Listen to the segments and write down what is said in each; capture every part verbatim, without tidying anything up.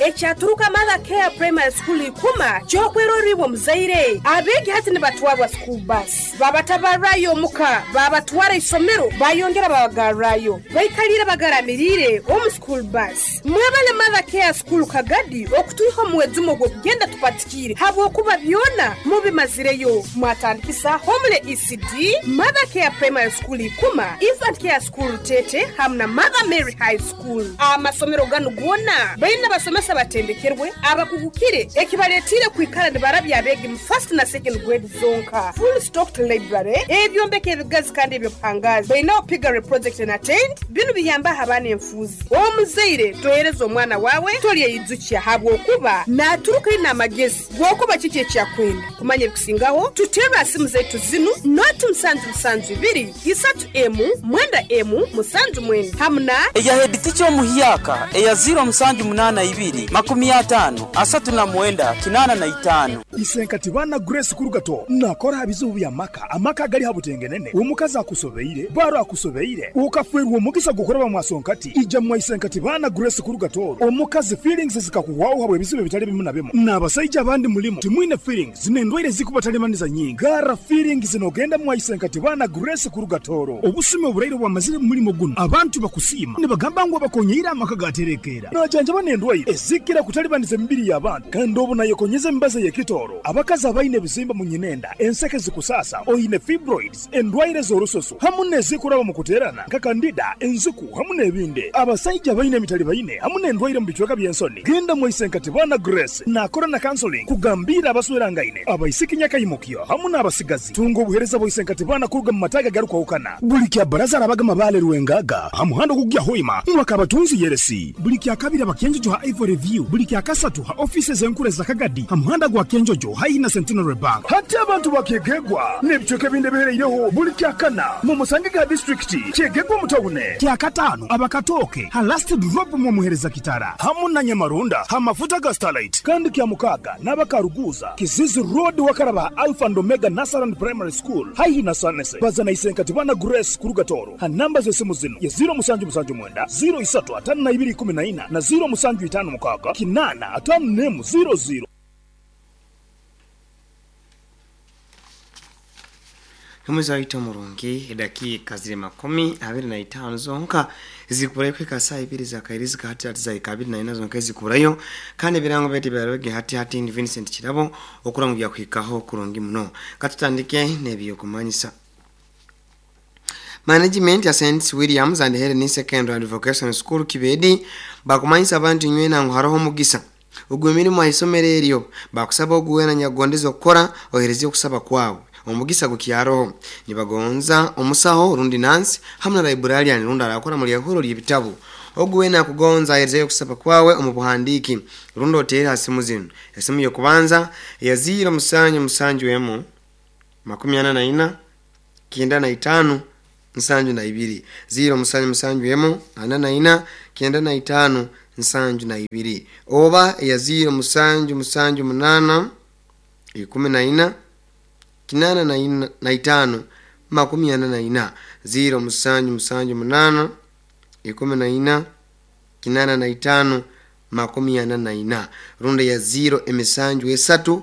Ekyaturuka Mother Care Primary School ikuma kyokweroribwa muzaire abeegi hati nibatwarwa school bus babatabarrayo omuka babatwara isomero bayongera babagarrayo baikalire bagaramirire omu school bus. Mwebale Mother Care School Kagadi okutwiha omuwezumo gw'okugenda tupatikire habwokuba byona mubimazireyo. Mwatandikisa Homele E C D, Mother Care Primary School ikuma, Infant Care School Tete hamwe na Mother Mary High School. Amasomero ganu gona baina basomesa batendekerwe abakugukire ekibaletire kwikara nibarabya abegi mu first na second grade zonka. Full stocked library ebyombeko ebigazi kandi ebyobuhangazi baina piggery project and attend binu biyamba abaana enfuzi. Omuzaire tohereza omwana wawe tolyeyizukia habwokuba naturuka ina amagezi gwokuba kiki ekyakwenda kumanya ebikusingaho tutera simu zaitu zinu noti musanju musanju ibiri isatu emu mwenda emu musanju mwenda hamuna eya head teacher omuhyaka eya zero musanju munana ibiri makumi atano asatu na mwenda kinana na itano. Isenkati bana Grace Kurugato nakora habizubu bya maka amaka gali habutengenene omukazi akusobeire baro akusobeire ukafwerwa omugisa gukora bamwasonkati ija mwa Isenkati bana Grace Kurugato omukazi feelings zikakuwaho habwe bizibu bitali bimu na bimu n'abasajja abandi mulimo timwine feelings nendwaire zikubatalemaniza nyingi gara feelings zinogenda mwa Isenkati bana Grace Kurugatoro obusime oburaire bwamazire mulimo guno abantu bakusima nibagamba ngo bakonyeira amaka gaterekera najanja banendwaire ezikira kutalibaniza emibiri y'abantu kandi obu nayekonyeza embaza y'ekitoro abakazi abaine ebizimba mu nyinenda enseke zikusasa oyine fibroids endwaire z'orusoso hamu n'ezikuraba mu kuterana nka kandida enziku hamu n'ebindi abasajja abaine emitali baine hamu n'endwaire mu bicweka by'ensoni genda mu Isenkati bana Grace nakora na counseling kugambira abaswerangaine abaisiki nyakayimukyo hamu n'abasigazi tunga obuhereza bwa Isenkati bana kuruga mu mataga garukwahukana buli kya baraza arabaga mabale rwengaga hamuhando kugya hoima mwakabatunzi yeresi buli kya kabiri abakenjojo ha Ivory View buli kya kasatu ha offices enkure za Kagadi hamuhanda gwa Kenjojo haihi na Centenary Bank hati abantu bakegegwa n'ebicweka ebindi bihereireho buli kya kana mu Musangiga district kyegegwa mutawune kya katano abakatoke ha last drop mu muhereza kitara hamu na Nyamarunda ha mafuta ga Starlight kandi kya mukaga n'abakaruguza Kizizi Road wakaraba Alpha and Omega Nasaran Primary School haihi na Sanese bazana Isenkati bana Grace Kurugatoro ha namba z'esimu zino ya zero musanju musanju mwenda zero isatu atano na ibiri kumi na ina na zero musanju itano mukaga kinana atano nemu zero zero. Humuza ito murungi dakika ziri makumi abiri na itano zonka zikurayo kwika saa ibiri za kairizi hati hati za ikabiri na ina zonka zikurayo kandi birango beti byaroge hati hati ni Vincent Kirabo okurangu kwikaho kurungi muno katutandike nebiyo kumanyisa. Management ya Saint Williams and Helen Secondary and Vocational School Kibedi bakumanyisa abantu nywena ngo haroho mugisa ugwe mirimo ayisomero eryo bakusaba oguwena nyagondezo okukora ohereze okusaba kwawe omugisa gukyaroho nibagonza omusaho rundi Nancy hamwe na librarian rundi arakora muri yahuro ly'ibitabo oguwena kugonza ahereze okusaba kwawe omubuhandiki rundi otera asimu zino esimu yo kubanza ya zero musanju musanju emu makumi ana na ina kenda na itano nsanju na ibiri zero musanju musanju emu ana na ina kenda na itano nsanju na ibiri oba ya zero musanju musanju munana ikumi na ina kinana na ina na itano makumi ana na ina zero musanju musanju munana ikumi na ina kinana na itano makumi ana na ina runda ya zero emisanju esatu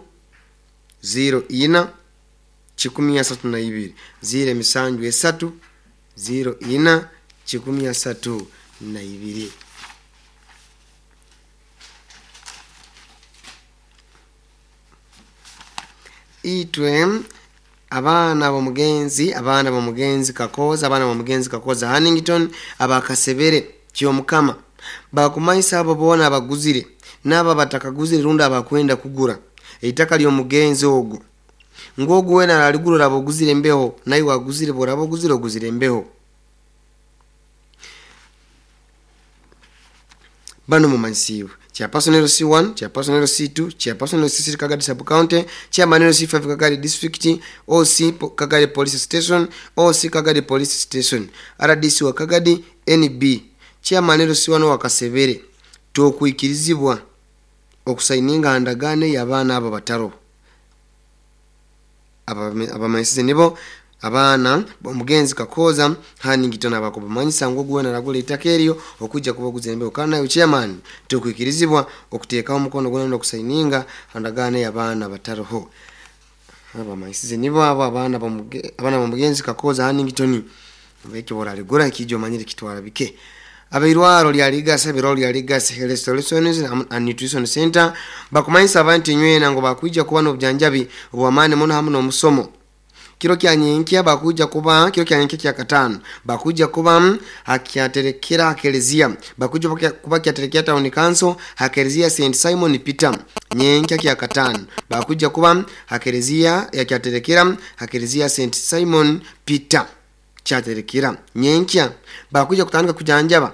zero ina chikumi asatu na ibiri zero emisanju esatu zero ina chikumi asatu na ibiri. Itwe abaana b'omugenzi abaana b'omugenzi Kakoza abaana b'omugenzi Kakoza Hannington abakasebere kyomukama bakumanyisa abo boona abaguzire n'abo batakaguzire rundi abakwenda kugura eitaka ly'omugenzi ogwo ngogu wena aligurura aboguzire embeho naye waguzire boraba oguzire oguzire embeho. Bano mumanyisiwe chairperson L C one, chairperson L C two, chairperson L C three Kagadi Sub County, chairman L C five Kagadi District, O C Kagadi Police Station, O C Kagadi Police Station, R D C wa Kagadi N B, chairman L C one wa Kasebere tokwikirizibwa okusaininga ndagane y'abaana abo bataro. Abamanyisize nibo Abaana omugenzi Kakooza Hanington abakubamanyisa ngu oguwena aragura eitaka eryo okujja kubaguza embeho, kandi nawe chairman tukwikirizibwa okuteekaho omukono gwona n'okusaininga handagaano y'abaana batariho. Abamanyisize nibo abo abaana b'omuge- abaana b'omugenzi Kakooza Hanington ekyo borarigura ekijja omanyire kitwara bike. Abairwaro lya Ligasa, ebirwaro lya Ligasa Health Solutions and Nutrition Center bakumanyisa abantu inywena ngu bakwija kuba n'obujanjabi obw'amaani muno hamu n'omusomo. Kiro kya nyenkya bakuja kuba, kiro kya nyenkya kya katano bakuja kuba hakyaterekera hakelezia, bakuja kuba kyaterekera town council hakelezia Saint Simon Peter. Nyenkya kya katano bakuja kuba hakelezia yakyaterekera hakelezia Saint Simon Peter kyaterekera nyenkya. Bakuja kutandika kujanjaba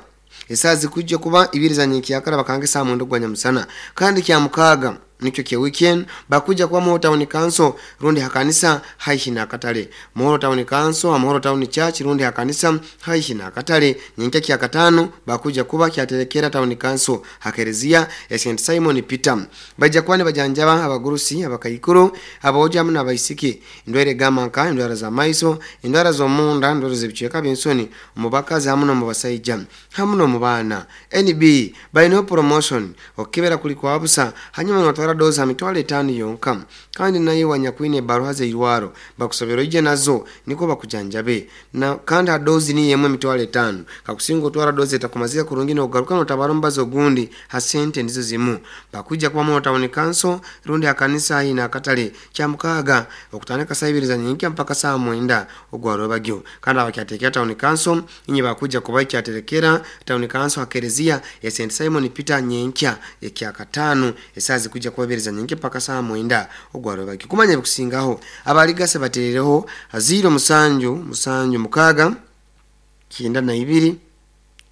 esaa zikuja kuba ibiri za nyenkya yakara bakange saa mwenda gwa nyamusana. Kandi kya mukaaga nikyo kya weekend bakuja kuba Muhoro Town Council rundi hakanisa haihi na katale. Muhoro Town Council, Muhoro Town Church rundi hakanisa haihi na katale. Nyenkya kya katano bakuja kuba kyaterekera Town Council hakerezia ya Saint Simon Peter. Baija kuba nibajanjaba abagurusi, abakaikuru, aboja hamwe n'abaisiki, endwaire g'amanka, endwara za maiso, endwara z'omunda, endwara z'ebicweka by'ensoni omu bakazi hamwe n'omu basaija hamwe n'omu baana. N B balinaho promotion okukebera kuli kwa busa, hanyuma notwara dozi ha mitwaro etaano yonka. Kandi nayo wanyakwine ebaruha zeirwaro bakusabira oije nazo niko bakujanjabe na, kandi ha dozi niyo emwe emitwaro etaano. Kakusinga otwara dozi etakumazika kurungi nogaruka notabara omubazi ogundi ha sente nizo zimu. Bakuija kuba mu Town Council rundi hakanisa haihi n'akatale kya mukaaga okutandika saa ibiri za nyenkya mpaka saa mwenda ogwarwebagyo. Kandi abakyaterekera Town Council inye bakuja kuba ikyaterekera Town Council hakerezia ya Saint Simon Peter nyenkya ekya katano esaa zikuja kuba ibiri za nyenkya mpaka saa mwenda ogwarwebagyo. Kumanya ebikusingaho abaligase baterereho ziro musanju musanju mukaaga kyenda na ibiri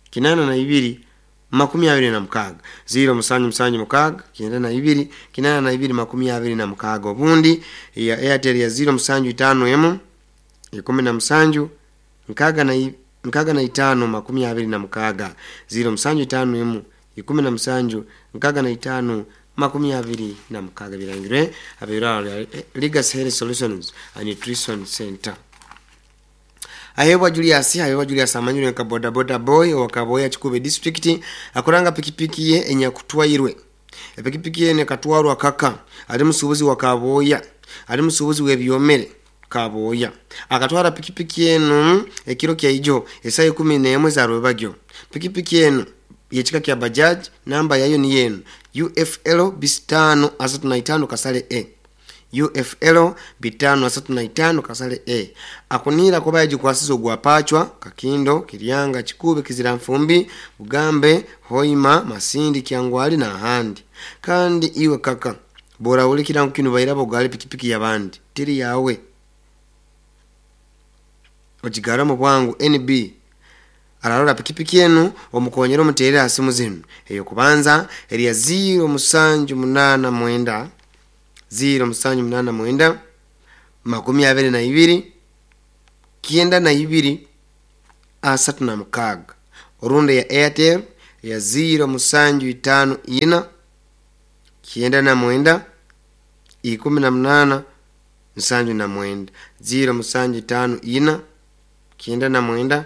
kinana na ibiri makumi abiri na mukaaga, ziro musanju musanju mukaaga kyenda na ibiri kinana na ibiri makumi abiri na mukaaga. Obundi ya Airtel ya ziro musanju itaano emu ikumi na musanju nkaaga na i- nkaaga na itaano makumi abiri na mukaaga, ziro musanju itaano emu ikumi na musanju nkaaga na itaano makumi abiri na mukaaga. Birangirwe abairwaro lya Legacy Health Solutions and Nutrition Center. Ahebwa Julius, Ahebwa Julius amanyirwe nka boda boda boy owa Kaboya Kikube district akuranga pikipiki ye enyakutwairwe. Epikipiki ye nekatwarwa kaka ali musuubuzi wa Kaboya, ali musuubuzi w'ebyomere Kaboya. Akatwara pikipiki enu ekiro kya ijo esaa ikumi n'emwe za rwebagyo. Pikipiki enu yekika kya Bajaj, namba yayo ni yenu U F L bisitano asatu na itaano kasale A, U F L bitano asatu na itaano kasale A. Akunira kuba yagikwasiza ogwapachwa Kakindo, Kiryanga, Kikube, Kizira Nfumbi, Bugambe, Hoima, Masindi, Kyangwali n'ahandi. Kandi iwe kaka bora ulikira kino bairabo ogale pikipiki y'abandi tiri yawe, ogigara mu bwangu. N B ararora pikipiki enu omukonyera omuterere ha simu zinu: eyokubanza eriya ziro musanju munaana mwenda, ziro musanju munaana mwenda makumi abiri na ibiri kyenda na ibiri asatu na mukaaga, orundi ya Airtel ya ziro musanju itaano ina kyenda na mwenda ikumi na munaana nsanju na mwenda, ziro musanju itaano ina kyenda na mwenda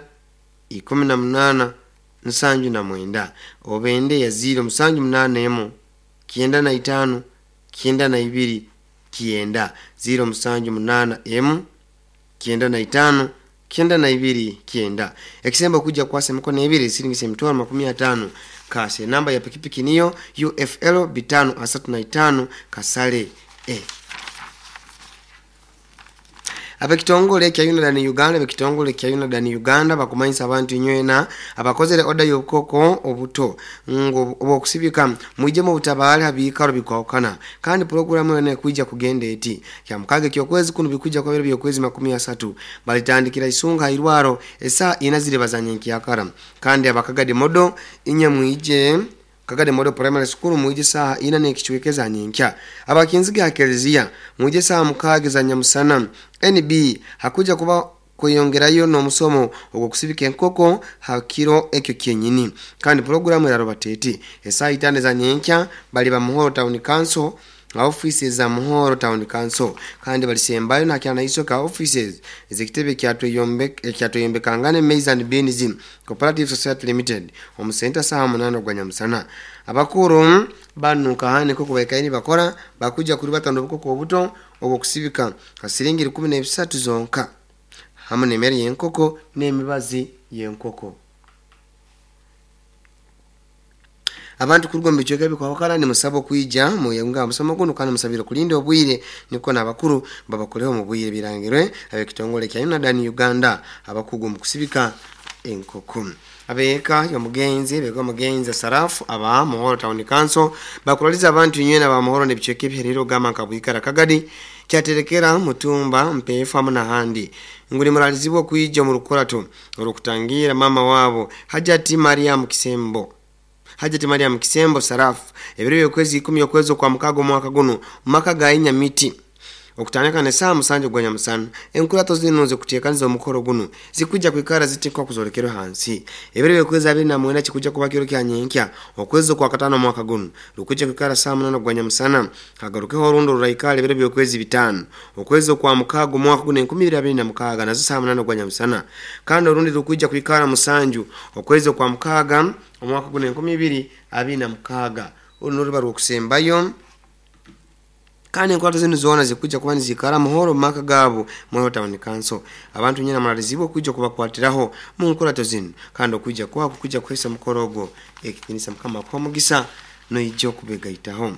ikumi na munaana nsanju na mwenda, obende ya ziro musanju munaana emu kyenda na itaano kyenda na ibiri kyenda, ziro musanju munaana emu kyenda na itaano kyenda na ibiri kyenda. Ekisembo kuja kwasa emikono ebiri siringisa emitwaro makumi ataano kase. Namba ya pikipiki niyo U F L bitano asatu na itaano kasale E. Abekitongole kya UNADAN Uganda, abekitongole kya UNADAN Uganda bakumanyisa abantu inywena abakozere oda y'obukoko obuto ngo obwokusibika mwije mu butabaali habiikaro bikwawukana. Kandi pulogulamu yona ekwija kugenda eti kya mukaaga ekyokwezi kuno bikwijja kuba biro byokwezi makumi asatu, balitandikira Isunga hairwaro esaa ina ziri bazanya nkyakara. Kandi abakagadi modo inye mwije Kagade Model Primary School mwije saa ina n'ekicweka za nyenkya. Abakinziga ha kelezia mwije saa mukaaga za nyamusana. N B hakuja kuba kweyongerayo n'omusomo ogw'okusibika enkoko ha kiro ekyo kyenyini. Kandi pulogulamu eraroba teti esaa itaano za nyenkya bali ba Muhoro Town Council. Offices za Muhoro Town Council kandi balisembayo na kyana isoka offices ezekitebe kyatweyombe kyatweyombekangane Maize and Beans Cooperative Society Limited omu center saha munana gwa nyamusana. Abakuru banuka hane koko baikaini bakora bakuja kuri batano obukoko obuto obwo kusibika kasiringi kumi na bisatu zonka hamwe n'emmere y'enkoko n'emibazi y'enkoko. Abantu kuruga mu bicweka bikwahukana nimusaba okwija muyunga musomo guno kandi musabire kulinda obwire niko n'abakuru babakoleho mu bwire. Birangirwe ab'ekitongole kya UNADAN Uganda, abakugu mu kusibika enkoko. Abeeka y'omugenzi beka omugenzi Sarafu aba Muhoro Town Council bakuraliza abantu nywena ba Muhoro n'ebicweka ebiherero gamba nka Bwikara, Kagadi, Kyaterekera, Mutumba, Mpeefu hamu n'ahandi ngu nimuralizibwa okwija mu rukurato olw'okutangira mama waabo Hajati Mariam Kisembo, Hajati Mariam Kisembo Sarafu, ebiro by'okwezi ikumi okwezi okwa mukaaga omwaka guno mu maka ga Inyamiti okutandika ne saa musanju gwa nyamusana. Enkurato zino zikuteekaniza omukoro guno zikujja kwikara zitikwa kuzolekerwa hansi. Ebiro by'okwezi abiri na mwenda kikujja kuba kiro kya nyenkya okwezi okwa katano omwaka guno, lukujja kwikara saa munana gwa nyamusana. Hagarukeho orundi ruraikara ebiro by'okwezi bitaano okwezi okwa mukaaga omwaka guno enkumi ibiri abiri na mukaaga, nazo saa munana gwa nyamusana. Kandi orundi rukujja kwikara musanju okwezi okwa mukaaga omwaka guno enkumi ibiri abiri na mukaaga. Uru noruba rwokusembayo. Kandi enkwato zinu zoona zikujja kuba nizikara Muhoro mu maka gaabo Muhoro Town Council. Abantu nyina muralizibwa okwijja kubakwatiraho mu nkurato zinu kandi okwijja kwako kujja kuhesa mukoro ogwo ekitinisa. Mukama akuha omugisa noijja okubegaitaho.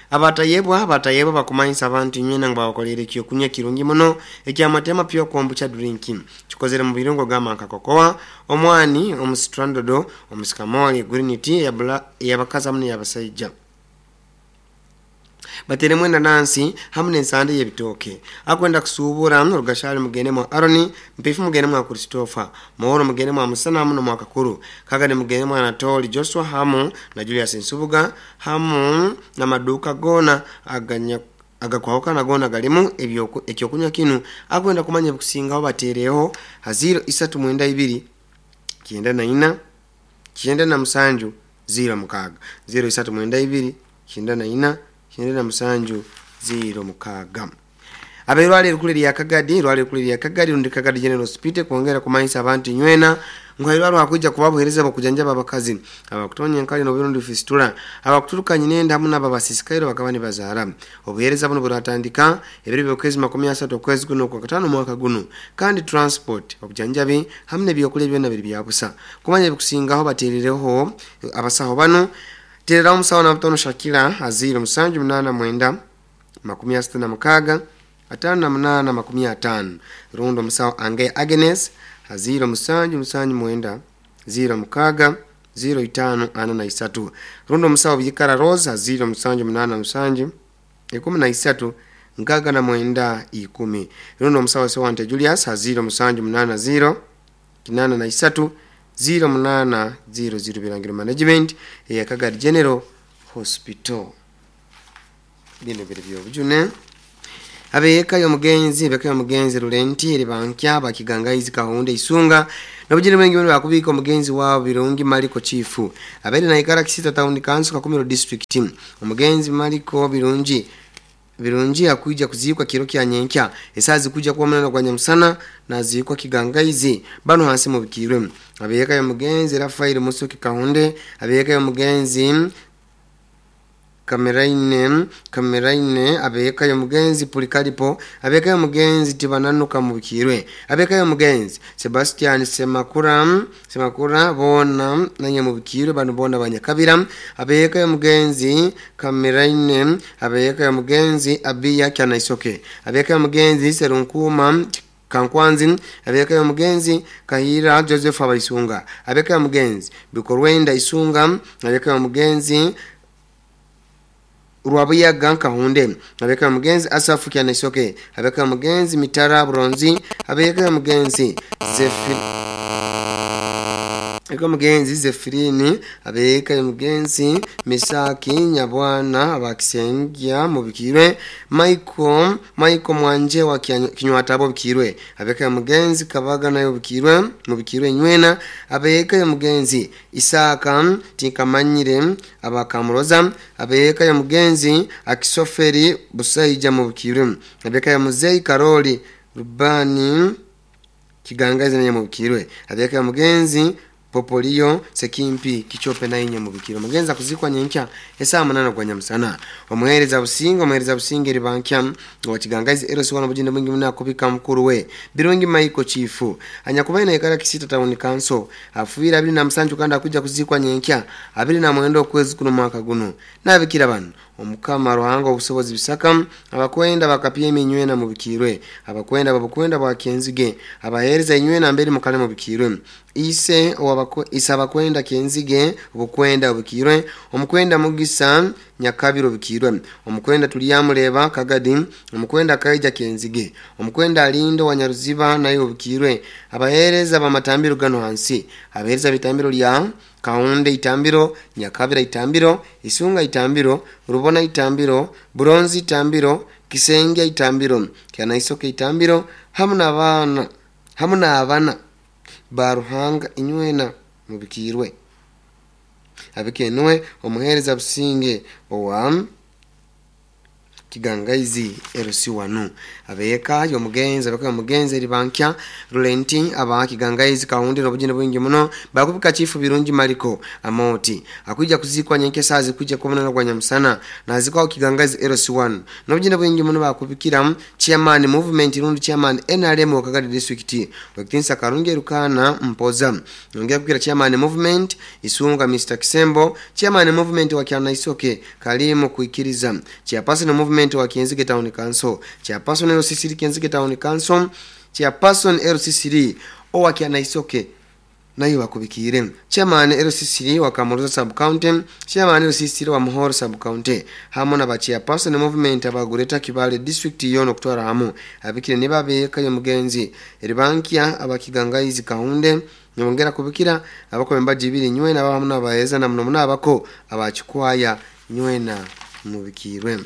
Abatayebwa abatayebwa bakumanyisa abantu nywena ngu babakolere ekyokunywa kirungi muno ekyamatema pure kombucha drink, kikozere mu birungo gamba nka kokoa, omwani omusitrandodo, omusikamoli, green tea ey'abakazi hamu n'ey'abasaija, bateremu enanansi hamu n'ensande y'ebitooke. Akwenda kusuubura Rugashali mugende mwa Aroni, Mpifu mugende mwa Christopher, Muhoro mugende mwa Musana hamu nomwa Kakuru, Kagadi mugende mwa Anatoli Joshua hamu na Julius Nsubuga, hamu n'amaduuka goona aganya agakwahukana goona galimu ekyokunywa kinu. Akwenda kumanya ebikusingaho bateereho ha ziro isatu mwenda ibiri kyenda na ina kyenda na musanju ziro mukaaga, ziro isatu mwenda ibiri kyenda na ina kyenda na musanju ziro mukaaga. Abeirwala erikulu erya Kagadi, irwala erikulu erya Kagadi rundi Kagadi General Hospital kwongera kumanyisa abantu nywena ngu hairwara hakwija kuba buhereza bukujanjaba abakazi abakutonya enkali n'oburundi fistula, abakuturuka nyinenda hamu n'ababasisikairo bakaba nibazaara. Obuhereza buno buratandika ebiro by'okwezi makumi asatu okwezi guno okwa katano omwaka guno, kandi transport, obujanjabi hamu n'ebyokulya byonna biri bya busa. Kumanya ebikusingaho bateerereho abasaho bano. Tereraho omusawo Nabutono Shakira aziro musanju munaana mwenda makumi asatu na mukaaga ataano na munaana makumi ataano, rundi omusawo Ange Agnes aziro musanju musanju mwenda ziro mukaaga ziro itaano ana na isatu, rundi omusawo Byikara Rose aziro musanju munaana musanju ikumi na isatu nkaaga na mwenda ikumi, rundi omusawo Sewante Julius aziro musanju munaana ziro kinaana na isatu ziro munaana ziro ziro. Birangiro Management eya Kagadi General Hospital. Bino biri byobujune. Abeeka y'omugenzi beka y'omugenzi Lulenti eri bankya bakigangaizi Kahunde Isunga nobujire bwengi bano bakubika omugenzi waabo Birungi Maliko Chifu abeere naikara Kisita Town Council, Kakumiro District. Omugenzi Maliko Birungi Birungi akuija kuziikwa kiro kya nyenkya esaa zikuja kuba munana gwa nyamusana naziikwa Kigangaizi. Bano hansi mubikirwe abeeka y'omugenzi Rafael Musuki Kahunde, abeeka y'omugenzi Kameraine Kameraine, abeeka y'omugenzi Pulikalipo, abeeka y'omugenzi Tibananuka mubikirwe, abeeka y'omugenzi Sebastian Semakura Semakura boona nanye mubikirwe. Bano boona banyakabira. Abeeka y'omugenzi Kameraine, abeeka y'omugenzi Abiya Kyanaisoke, abeeka y'omugenzi Serunkuma Kankwanzi, abeeka y'omugenzi Kahira Joseph Abaisunga, abeeka y'omugenzi Bikorwenda Isunga, abeeka y'omugenzi Rwabuyaga Nkahunde, abeeka y'omugenzi Asafu Kyanaisoke, abeeka y'omugenzi Mitara Buronzi, abeeka y'omugenzi Zefi Eko mugenzi Zefirini abeka mugenzi Misaki Nyabwana abakisengya mubikirwe Michael Michael Mwanje wa Kinywatabo bikirwe abeka mugenzi Kabaga nayo bikirwe mubikirwe nywena abeka mugenzi Isaka Tinkamanyire abakamuroza abeka mugenzi Akisoferi Busaija mubikirwe abeka muzei Karoli Rubani Kigangazi naye mubikirwe abeka mugenzi Popolio Sekimpi Kichope na inye mubikiro mugenza kuzikwa nyenkya esaa munana kwa nyamusana omuhereza businga omuhereza businga eri bankya wa Kigangazi Eros wana bujinde mwingi muna kubika mukuru we Birungi Maiko Chifu anyakubaye na ikara Kisita Town Council afuira abiri na musanju kandi akuja kuzikwa nyenkya abiri na mwendo kwezi kuno mwaka guno nabikira bano omukama Ruhanga obusobozi bisaka abakwenda bakapye eminywe na mubikirwe abakwenda babukwenda bwa Kenzige abahereza inywe na mbere mukale mubikirwe ise owabako isabakwenda Kenzige obukwenda obukirwe omukwenda Mugisa Nyakabiro bikirwe omukwenda Tuliyamuleba Kagadi omukwenda Kaija Kenzige omukwenda Alindo Wanyaruziba nayo obukirwe abahereza bamatambiro gano hansi abahereza bitambiro lya Kaunde itambiro, Nyakabira itambiro, Isunga itambiro, Rubona itambiro, Buronzi itambiro, Kisenge itambiro, Kyanaisoke itambiro, hamuna abana, hamuna abana baruhanga inywena mubikirwe. Abikenwe omuhereza businge owa Kigangaizi Erosi wanu abeka yomugenzi abeka yomugenzi eri bankya Rulenti aba Kigangaizi Kaundi nobujine bwingi muno bakubika chifu Birungi Mariko Amoti akuja kuzikwa nyenke sazi kuja kubona kwa nyamusana nazikwa Kigangaizi Erosi wanu nobujine bwingi muno bakubikira chairman movement rundi chairman N R M wa Kagadi district wakitinsa Karunge Rukana Mpoza nongea kukira chairman movement Isunga Mister Kisembo chairman movement wa Kyanaisoke Kalimu kuikiriza chairperson movement wa Kenzige Town Council chairperson L C C Kenzige Town Council chairperson L C C owa Kyanaisoke nayo bakubikire chairman L C C wa Kamuruza sub county chairman L C C wa Muhoro sub county hamo na ba chairperson movement abagureta Kibale district yono kutwara hamo abikire nibabeka yo mugenzi eribankia abakigangaizi Kaunde nyongera kubikira abako membaji ibiri nywena abamu nabaheza na muno munabako abachikwaya nywena mubikirwe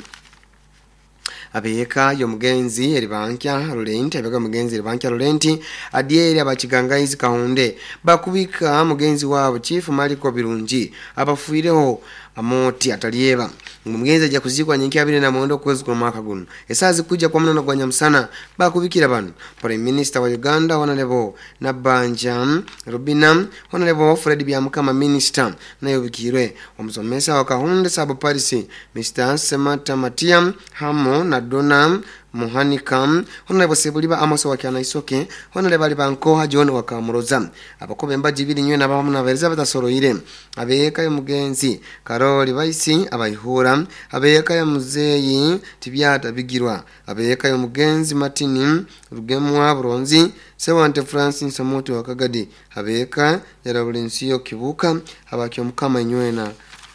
abeka yo mugenzi eribankya Rulenti abeka mugenzi eribankya Rulenti adieri abakigangaizi Kaunde bakubika mugenzi wabo Chief Mariko Birungi abafuireho Amoti atalieba mugenzi aja kuzikwa nyenki abiri na mwendo kwezi kwa mwaka guno esazi kuja kwa mnono kwa nyamusana bakubikira bano Prime Minister wa Uganda Honorable Nabanja Rubina Honorable Fred Byamukama Minister nayo bikirwe omusomesa wa Kahunde sub Paris Mister Semata Matia hamo na Dona Muhanika Honorable Sebuliba Amos wa Kyanaisoke Honorable Alibankoha John wa Kamuroza abakobe mbaji biri nywe nabamu na Elizabeth Soroire abeka yo mugenzi Karoli Baisi abayihura abeka yo muzeyi Tibyata Bigirwa abeka yo mugenzi Martin Rugemwa Buronzi Sewante Francis Samoto wa Kagadi abeka Yarabulensiyo Kibuka abakyo mukama nywena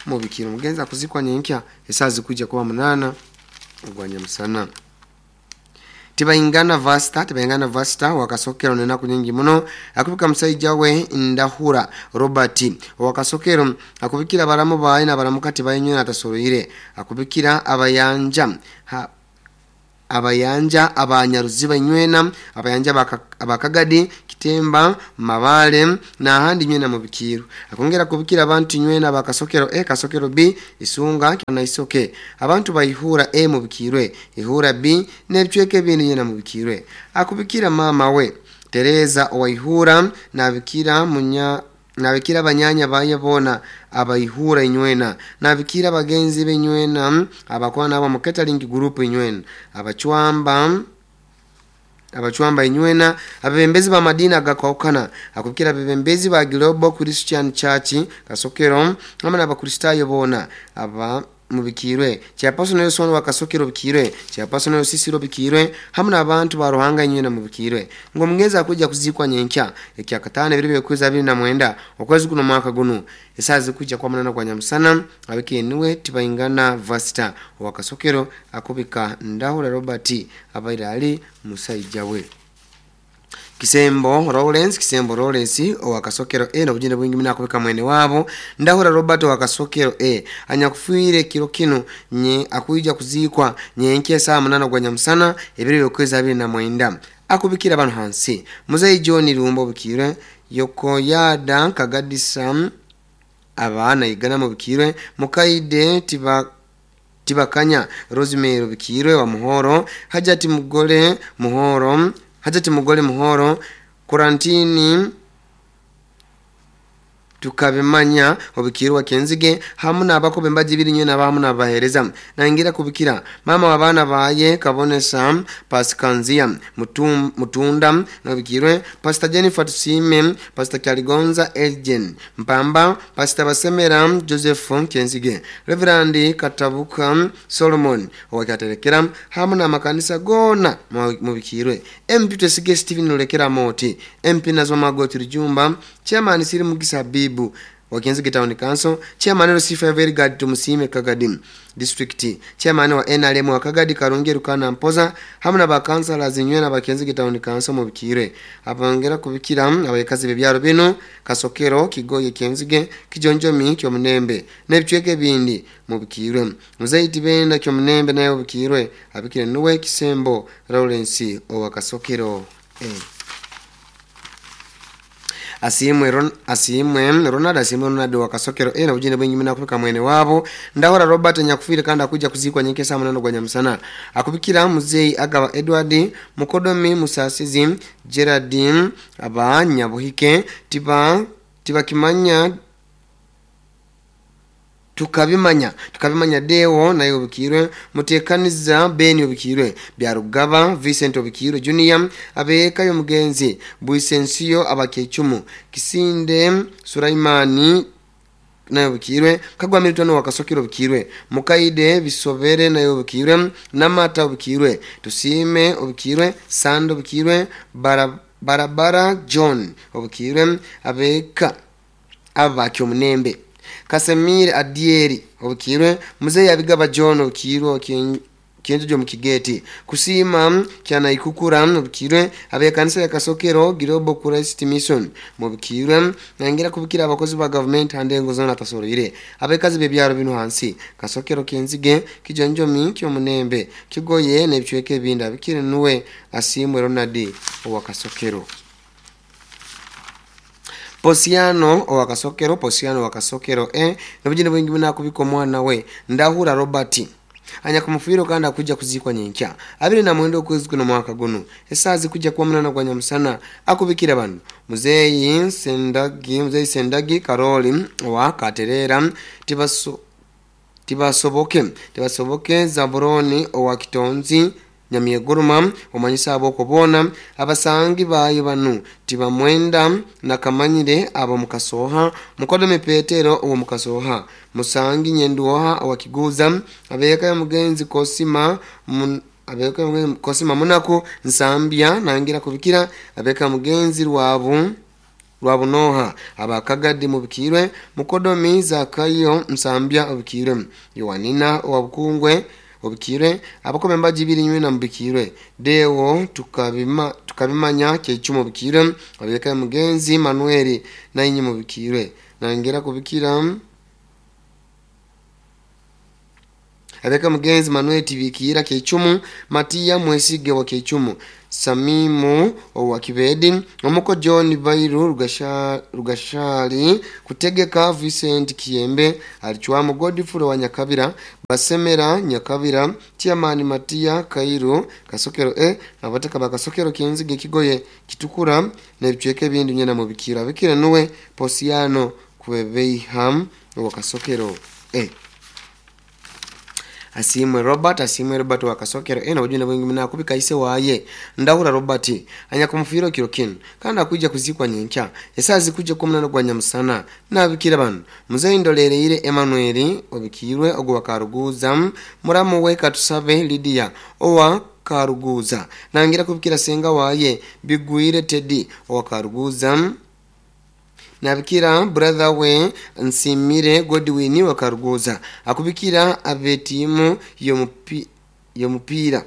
mubikiro mugenzi akuzikwa nyenkya esazi kuja kuba munana ogwanya musana Tibaingana vasta tibaingana vasta wakasokero nena kunyingi muno akubika musaija we Ndahura Robert wakasokero akubikira baramu bayi na baramukati bayinywe atasoroire akubikira abayanja ha, abayanja abanyaruziba nywena abayanja abakagadi Kitemba Mabale na ahandi nywena mubikiru akongera kubikira abantu nywena bakasokero E kasokero B Isunga na Isoke abantu bayihura E mubikirwe ihura B nebicweke bindi nywena mubikirwe akubikira mama we Teresa owaihura nabikira munya nabikira banyanya bayebona abayihura inywena nabikira bagenzi benywena abakwana abo mu catering group inywena abachwamba abachwamba inywena abebembezi ba madina gakwaukana akubikira abebembezi ba Global Christian Church Kasokero hamwe n'abakristayo bona aba mubikirwe chairperson Nelson wa Kasokero bikirwe chairperson Nelson Sisiro bikirwe hamwe n'abantu ba Ruhanga inywena mubikirwe ngo mugeza kuja kuzikwa nyenkya ekya katana biri byokweza abiri na mwenda okwezi kuno mwaka guno esazi kuja kwa munana kwa nyamusana abikeniwe tibaingana vasta wa Kasokero akubika Ndahura Robert abaira ali musaijawe Kisembo Lawrence Kisembo Lawrence owa Kasokero A n'obujune bwingi muno akubika mwene waabo Ndahura Robert owa Kasokero A anyakufiire kiro kinu nye akwija kuziikwa nyenkya esaaha munaana gwa nyamusana ebiro by'okwezi abiri na mwenda akubikira bano hansi Muzeyi John Lumba obukirwe Yokoyada Kagadisa abaana igana mubikirwe Mukaide tiba Tibakanya Rosemary Bikirwe wa Muhoro Hajati Mugole Muhoro Hajati Mugole Muhoro Kurantini tukabimanya obikirwa Kenzige hamu n'abakobe mbaji biri nywe n'abamu n'abahereza nangira kubikira mama w'abaana baye Kabonesa Paskanzia Mutum, Mutunda nabikirwe Pastor Jennifer Tusime Pastor Kyaligonza Elgen Mpamba Pastor Basemera Joseph Kenzige Reverend Katabuka Solomon owakaterekera hamu n'amakanisa gona mubikirwe M P Twesige Steven Lulekera Moti M P Nazwa Magoti Rujumba Chairman Siri Mugisa Bibu wa Kenzige Town Council, Chairman L C five Elgad Tumusime Kagadi District, Chairman wa N R M wa Kagadi Karungi Rukana Mpoza hamu na bakansala zinywe na Bakenzige Town Council mubikire abongera kubikira abayekazi bebyaro bino Kasokero Kigoye Kenzige Kijonjomi Kyomunembe n'ebicweke bindi mubikirwe Muzaiti Benda Kyomunembe nayo bikirwe abikire nuwe Kisembo Lawrence owa Kasokero eh. Asimwe Ron, asimwe Ronald asimwe Ronald wa Kasokero ena ujine bwingi mina kupika mwene wabo Ndahura Robert nyakufire kandi akuja kuzikwa nyeke saa munano gwa nyamusana akubikira Muzeyi Agaba Edward Mukodomi Musasizi Gerardine aba Nyabuhike tiba tibakimanya tukabimanya tukabimanya Deo nayo obukirwe Mutekaniza Ben obukirwe Byarugaba Vincent obukirwe Junior abeka yo mugenzi Buisensiyo abakechumu Kisinde Suraimani nayo obukirwe Kagwa Milton wa Kasokero obukirwe Mukaide Bisobere nayo obukirwe Namata obukirwe Tusime obukirwe Sando obukirwe Barabara John obukirwe abeka abakyomunembe Kasemir Adieri obukirwe Muzeyi Abigaba John obukirwe Kienjojo mukigeti Kusima kyana ikukura obukirwe abekanisa ya Kasokero Girobo Christ Mission mubikirwe nangira kubikira abakozi ba government handengo zona tasorire abekazi bebyaro bino hansi Kasokero Kenzige Kijonjomi Kyomunembe Kigoye n'ebicweke binda bikire nuwe Asimwe Ronald owa Kasokero Posiano owa Kasokero Posiano owa Kasokero eh nabujine bwingi muna kubiko mwana we Ndahura Robert anyakumufiro kandi akuja kuzikwa nyenkya abiri na mwendo kwezi kuno mwaka guno esazi kuja kuwa munana kwa nyamusana akubikira bano Muzeyi Sendagi Muzeyi Sendagi Karoli wa Katerera tibaso tibasoboke tibasoboke Zaburoni owa Kitonzi Nyamyeguruma omanyisa abo kubona abasangi bayo banu tibamwenda nakamanyire abo mukasoha Mukodome Petero uwo mukasoha Musangi Nyenduoha wa Kiguza abeka ya mugenzi Kosima mun, abeka mugenzi Kosima Munako Nsambya nangira kubikira abeka mugenzi rwabu Rwabunoha abakagadi mubikirwe Mukodomi Zakayo Nsambya obikirwe Yowanina wa Bukungwe obikirwe abakome mbaji biri nywe na mubikirwe Deo tukabima tukabimanya kechumo bikirwe abeka mugenzi Manuel na inyi mubikirwe nangera kubikira abeka mugenzi Manuel tibikira kechumu Matia Mwesige wa kechumu Samimu owa Kibedi omuko John Bairu rugasha rugashali kutegeka Vincent Kiyembe alichwamo Godfrey wa Nyakabira Basemera Nyakabira Chairman Matia Kairo Kasokero e abataka bakasokero Kenzige Kigoye Kitukura n'ebicweke bindi nyena mubikira bikira nuwe Posiano Kwebeham wa Kasokero e Asimwe Robert Asimwe Robert wa Kasokero ena ujune bwingi muna kubika ise waye Ndahura Robert anyakumufiro kiro kinu kandi akuja kuzikwa nyenkya esazi kuja kumunano gwa nyamusana nabikira bano Muzeyi Ndolere Emmanuel obikirwe ogwa Karuguza muramu we Katusabe Lydia owa Karuguza nangira kubikira senga waye Bigwire Teddy owa Karuguza nabikira brother we Nsimire Godwin wa Karuguza akubikira abetimu yomupi yomupira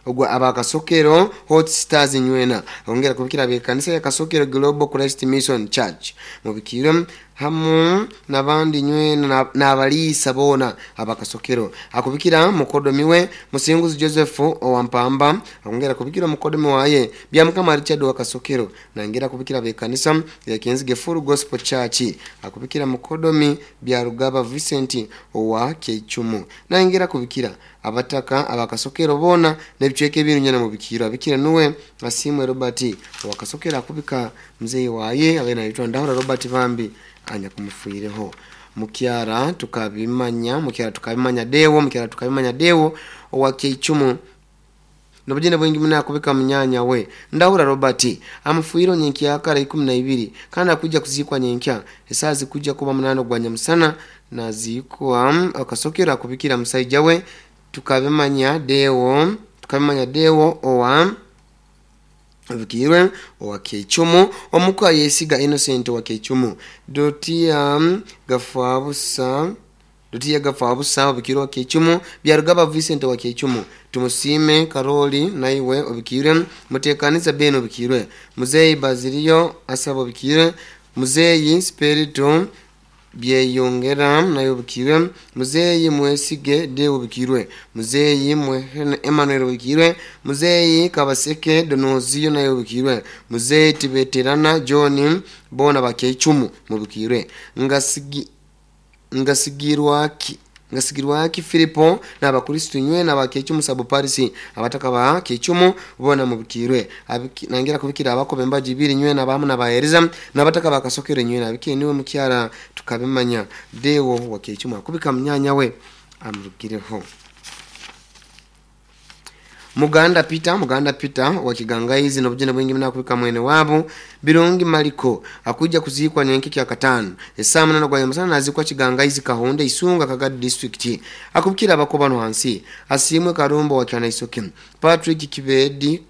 Ogwa abakasokero Hot Stars nywena ongera kubikira abekanisa ya Kasokero Global Christ Mission Church mubikire hamu nabandi nywena nabaliisa bona abakasokero. Akubikira mukodomiwe Musinguzi Joseph owampamba, ongera kubikira mukodomi waye Byamukama Richard wa Kasokero, nangera kubikira abekanisa ya Kenzige Full Gospel Church. Akubikira mukodomi Byarugaba Vincent owa Keichumu, nangera kubikira abataka abakasokero bona nebicweke ebintu nyana mubikiro. Abikira nuwe Asimwe Robert wakasokera akubika mzee waye abena yitwa Ndahura Robert Bambi anya kumufuireho. Mukyara tukabimanya mukyara tukabimanya dewo mukyara tukabimanya dewo owa Keichumu nobujene bwingi muna akubika munyanya we Ndahura Robert amufuiro nyenkya akara ikumi na ibiri kandi akuja kuzikwa nyenkya esazi kuja kuba munano gwa nyamusana nazikwa akasokera akubikira musaija we tukabimanya dewo tukabimanya dewo owa abikirwe owa Keichumu omuka yesiga Innocent owa Keichumu Dotia Gafabusa Dotia Gafabusa obikirwe wa Keichumu Byarugaba Vincent owa Keichumu Tumusime Karoli naiwe obikirwe Mutekaniza Ben obikirwe Muzeyi Bazilio asaba obikirwe Muzeyi Spirito byeyongera nayo obikirwe Muzeyi Mwesige de obikirwe Muzeyi Mwehene Emmanuel obikirwe Muzeyi Kabaseke Donozio nayo obikirwe Muzeyi Tibeterana John bona bakeichumu mubikirwe ngasigi ngasigirwaki ngasigirwaki Filipo n'abakristo nywe n'abakeichumu sabo Paris abataka ba keichumu bona mubikirwe nangira kubikira abakobe mbaji biri nywe n'abamu n'abahereza n'abataka bakasokere nywe nabikire niwe mukyara tukabimanya dewo wa keichumu akubika munyanya we amurugireho. Muganda Peter Muganda Peter wa Kigangaizi nobujene bwingi mna kubika mwene wabo Birungi Maliko akuja kuzikwa nyenke kya katano esaa munana gwa nyamusana nazikwa Kigangaizi Kahonde Isunga Kagadi District. Akubikira abakobano hansi Asimwe Karumbo wa Kyanaisoke Patrick Kibedi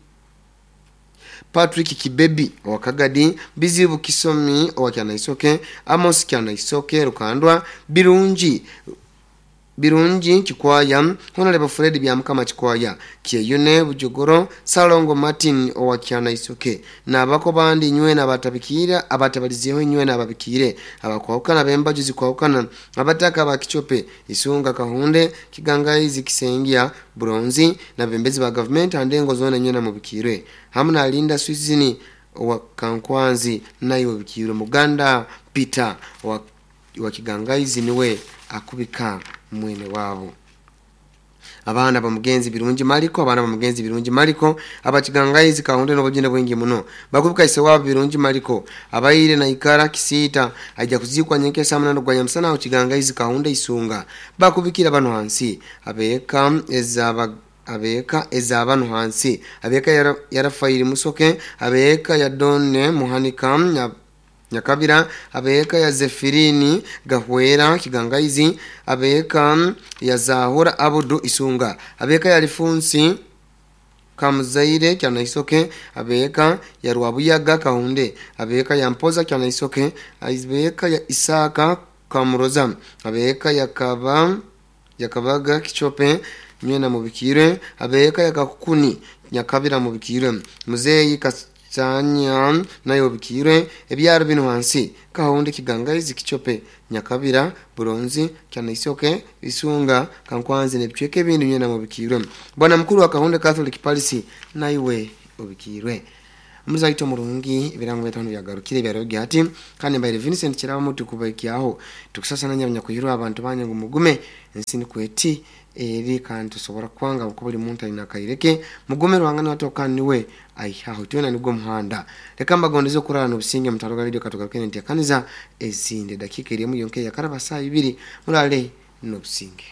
Patrick Kibebi wa Kagadi Bizibu Kisomi wa Kyanaisoke Amos Kyanaisoke Rukandwa Birungi Birungi Kikwaya Honorable Fred Byamukama Kikwaya Kyeyune Bujogoro Salongo Martin owa Kyanaisoke nabako bandi nywe nabatabikira abatabalizeho nywe nababikire abakwawukana bembajuzi kwawukana abataka bakichope Isunga Kahunde Kigangaizi Kisengia Bronzi na bembezi ba government andengo zone nywe na mubikire hamna Linda Swizini owa Kankwanzi nayo bikire Muganda Peter wa wa Kigangaizi niwe akubika mwene wabo. Abana bamugenzi Birungi Maliko abana bamugenzi Birungi Maliko abakigangaizi Kahunde nobujene bwingi muno bakubika ise wabo Birungi Maliko abayire na ikara kisita ajja kuzikwa nyenke saa munana gwa nyamusana Kigangaizi Kahunde Isunga bakubikira bano hansi abeka ezaba abeka ezabano hansi abeka yara, yarafairi Musoke abeka ya Donne Muhanika ya Nyakabira abeka ya Zefirini Gahwera Kigangaizi abeka ya Zahura Abudu Isunga abeka ya Lifunsi Kamuzaire Kyanaisoke abeka ya Rwabuyaga Kahunde abeka ya Mpoza Kyanaisoke abeka ya Isaka Kamuroza abeka ya Kaba Yakabaga Kichope nywena mubikire abeka ya Kakukuni Nyakabira mubikire Muzeyi Kas Sanya nayo bikire ebyaro bino hansi Kahonde Kigangaizi Kichope Nyakabira Buronzi Kyanaisoke Isunga Kankwanzi nebicweke ebindi nywena mubikirwe. Bwana mkuru wa Kahonde Catholic Parish naiwe obikirwe. Muzaito murungi ebirango bitano byagarukire byarobye ati kandi mbaire Vincent Kiraba mutu kubaikiaho tukusasa nanya kuyirwa abantu banye ngo mugume ensini kweti eri kandi tusobora kwanga uko buli muntu alina kaireke mugume ruhangana watokani we aihaho tuna nigwo muhanda reka mbagondeze kurara no businge mutaroga video katugaruke nti akaniza ezinde dakika iri mu yonke ya karaba saa ibiri murale no businge.